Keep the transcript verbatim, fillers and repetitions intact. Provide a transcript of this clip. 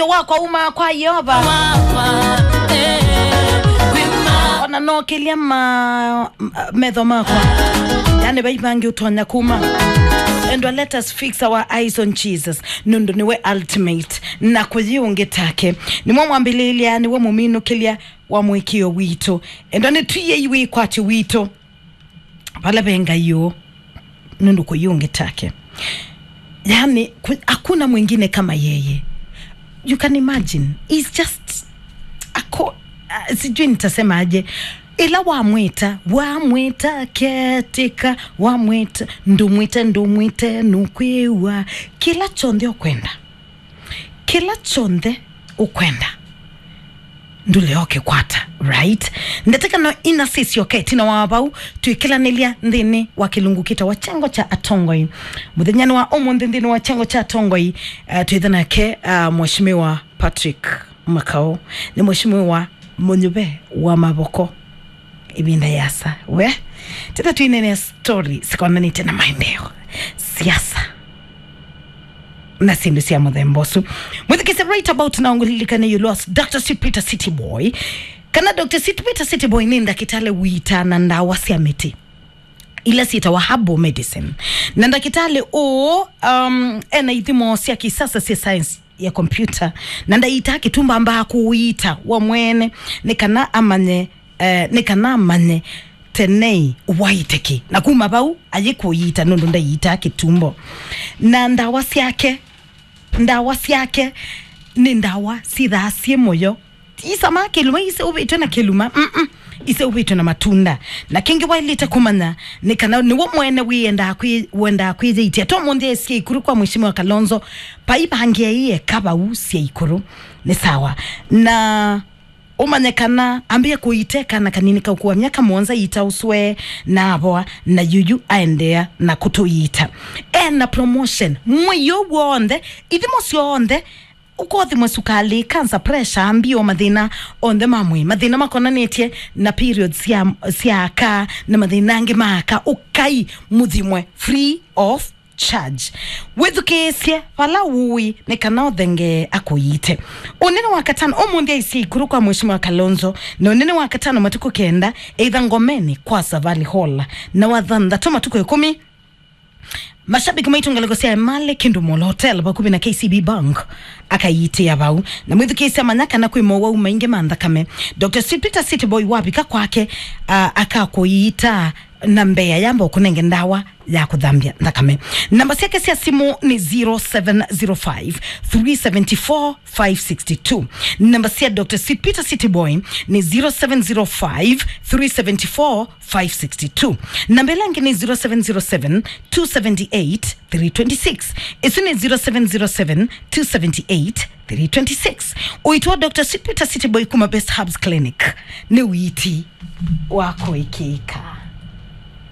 wakwa uma kwa Yeova. Ona nokĩlya ma, m-, metho makwa. Yani, vai vangĩ ũtonya kuma. Endwa, let us fix our eyes on Jesus. Nũndũ nĩwe ultimate. Na kũyĩ ũngĩ take. Nĩwe mwambĩlĩlya, nĩwe mũminũkĩlya wa mũĩkĩĩo witũ. Endwa, nĩtwĩei wĩkwatyo witũ vala ve Ngai ũũ, nũndũ kũyĩ ũngĩ take. Yani, ku-, hakuna mwingine kama yeye. You can imagine. He's just a co-, uh, sijui nitasemaje. Ĩla wamwĩta, wamwĩta, ketika, wamwĩta, ndũmwĩte, ndũmwĩte, nũkwĩw'a. Kĩla kyonthe ũkwenda. Kĩla kyonthe ũkwenda. Ndũlea ũkĩkwata, right? Ndatĩka no ina sisyoke ĩtina wa vau, twĩkĩlanĩlya nthĩnĩ wa kĩlungu kĩtawa kyengo kya atongoi. Mũthenyanĩ wa ũmũnthĩ nthĩnĩ wa kyengo kya atongoi, uh, twĩtha nake, uh, Mheshimiwa Patrick Makau. Nĩ Mheshimiwa mũnyuve wa mavoko. Ĩvinda yasa. We, teta twinene story sikonanĩte na maendeeo, siasa, na syĩndũ sya mũthemba ũsu. Mwĩthukĩĩsya right about now, ngũlilikane you lost Doctor Sweet Peter City Boy. Kana Doctor Sweet Peter City Boy nĩ ndakĩtalĩ ũitaa na ndawa sya mĩtĩ ila syĩtawa herbal medicine. Na ndakĩtalĩ ũũ, um, ena ithimo sya kisasa sya science ya kompyuta, na ndaiitaa kĩtumba, ambaa kũũiita we mwene, nĩ kana amanye, eh, nĩ kana amanye tenei waĩte kĩ. Na kuma vau, ayĩkũiita nũndũ ndaiitaa kĩtumbo. Na ndawa syake, ndawa syake nĩ ndawa syĩthaa syĩ mũyo. Ti isamaa kĩluma, iseũvĩtw'e na kĩluma. Mm-mm. Iseũvĩtw'e na matunda. Na kĩngĩ waĩlĩte kũmanya nĩ kana nĩwe mwene wĩendaa kwĩ-, wendaa kwĩyĩitia. To mũnthĩ esie ikuru kwa Mheshimiwa Kalonzo, paivangĩe ĩeka vau sya ikuru. Nĩ sawa. Na ũmanye kana ambĩe kũiteka na kanini kaũkua myaka mũonza ita ũswe na avoa, na yuyu aendeea na kũtũiita. Ena promotion. Mwei ũũ w'onthe, ithimo syonthe, ũkothimwe sukalĩ, cancer, pressure, mbio, mathĩna onthe ma mwĩĩ, mathĩna makonanĩtye na periods sya, sya aka, na mathĩna angĩ ma aka, ũkai mũthimwe free of charge. Wĩthukĩĩsye vala ũĩ nĩ kana ũthengee akũiite. Ũnene wa katano, ũmũnthĩ aisye ikuru kwa Mheshimiwa Kalonzo, na ũnene wa katano matukũ kenda, either Ngomeni kwa Savali Hall, na wa thanthatũ matukũ ĩkũmi, mashabiki maitũ ngalĩko sya Emali Kindu Mall Hotel vakuvĩ na K C B Bank akaiitĩa vau. Na mwĩthukĩĩsya manya kana kwĩ mowau maingĩ ma nthakame. Doctor Sweet Peter City Boy wavika kwake, a, akakũiita na mbee ayamba ũkũnenge ndawa ya kũthambya nthakame. Namba syake sya simũ nĩ zero seven zero five, three seven four, five six two. Namba sya Doctor Sweet Peter City Boy nĩ zero seven zero five, three seven four, five six two. Namba ĩla ĩngĩ nĩ zero seven zero seven, two seven eight, three twenty six. Ĩsu nĩ zero seven zero seven, two seven eight, three twenty six. Ũiiti wa Doctor Sweet Peter City Boy kuma Best Herbs Clinic nĩ ũiiti wa kũĩkĩĩka.